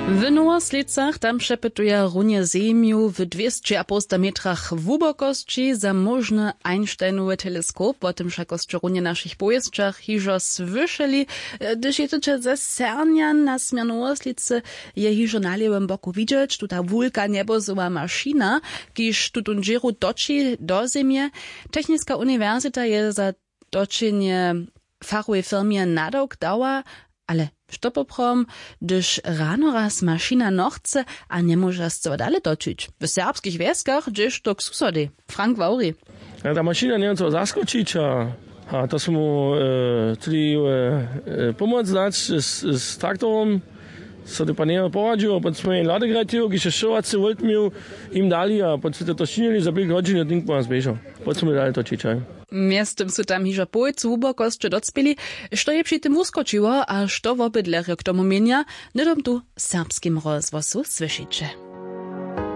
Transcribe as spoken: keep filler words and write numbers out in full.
W Nowoslědcach tam přepytuja runje zemju w dwěsćeapołsta metrach hłubokosći za móžny Einsteinowy teleskop. Wo tym wšakosće runje w našich powěsćach hižo słyšeli. Hdyž jědyće ze Sernjan na směr Nowoslědcy, je hižo na lěwym boku widźeć tuta wulka njebozowa mašina, kiž tutón dźěru toči do zemje. Techniska uniwersita je za točenje fachowej firmje nadawk dała. Ale što poprawom, hdyž rano raz mašina nochce a njemóža scyła dale točić w serbskich wjeskach, hdźež to k susodej? Frank Wawri. Ja, ta mašina njeje co zaskočić a, a to smo e, chceli e, e, pomoc dać z, z traktorom. So to pan njeje poradźił a potom smo jen ladek rajtił, kiž je šowacy volt měł, jim dali a potom to činili za pěk hodźin a tink po nas běžał. Potom smo dali točić, haj. Mjeztym su tam hižo połojcu hłubokosće docpěli. Što je při tym wuskočiło a što wobydlerjo k tomu měnja, hnydom tu w Serbskim rozhłosu słyšiće.